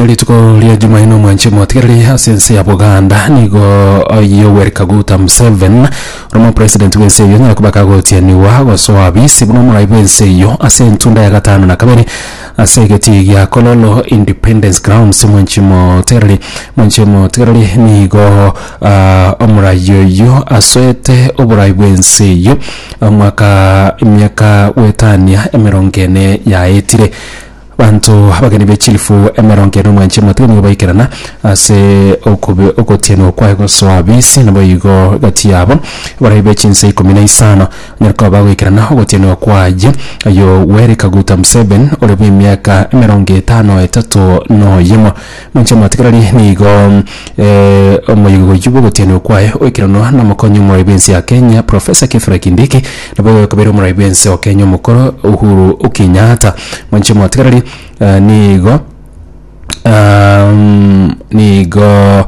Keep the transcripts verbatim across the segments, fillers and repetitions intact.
Ase rituko ria Jumaine, omwanchi omotigereri, ase ense ya Buganda nigo Yoweri Kaguta Museveni ore omopresident bw'ense eyio onyare koba kagotianiwa gosoa abisi buna omorai bw'ense eyio ase entunda ya gatano na kabere ase egetii gia Kololo Independence Grounds. Omwanchi omotigereri omwanchi omotigereri nigo ah, omorai oyo asoete oborai bw'ense eyio omwaka emiaka gwetania emerongo ene yaetire. Banto abageni be chilifu emerongo ene, omwanchi omotigereri, nigo baikerana ase okobe ogotianwa kwaye gosoa abisi. Nabo igo gati yabo abarai be chinse ikomi na isano onyare koba bagoikerana ogotianwa kwaye. Yoweri Kaguta Museveni ore bwa emiaka emerongo etano etato noyemo, mwanchi omotigereri, nigo eh, omoyigo oyio bwa ogotianwa kwaye oikeranwa na omokonyi omorai bw'ense ya Kenya, Professor Kithure Kindiki, nabo igo ekobeire omorai bw'ense o Kenya omokoro Uhuru Kenyatta. Mwanchi omotigereri, eh, nigo um, nigo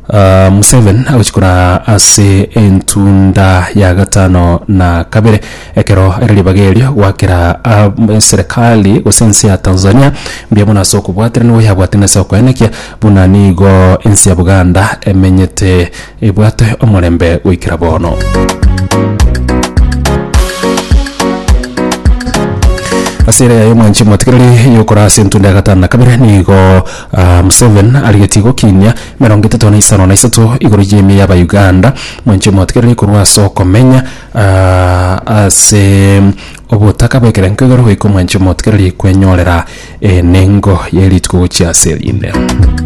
uh, Museveni agochikora ase entunda ya gatano na kabere ekero ere ribaga erio gwakera uh, serikali gose ense ya Tanzania mbuya mono ase okobwaterana nigo yabwaterana ase okoenekia buna nigo ense ya Buganda emenyete ebwate omorembe goikera bono. Ase ere yaye, omwanchi omotigereri, yokora ase entunda ya gatano na kabere, nigo uh, Museveni arigetie gokinia emerongo etato na isano na isato igoro y'emia y'abauganda, mwanchi omotigereri, korwa ase okomenya uh, ase obotaka bw'ekerengo igoro goika, omwanchi omotigereri, kwenyorera enengo y'erituko gochia ase erinde.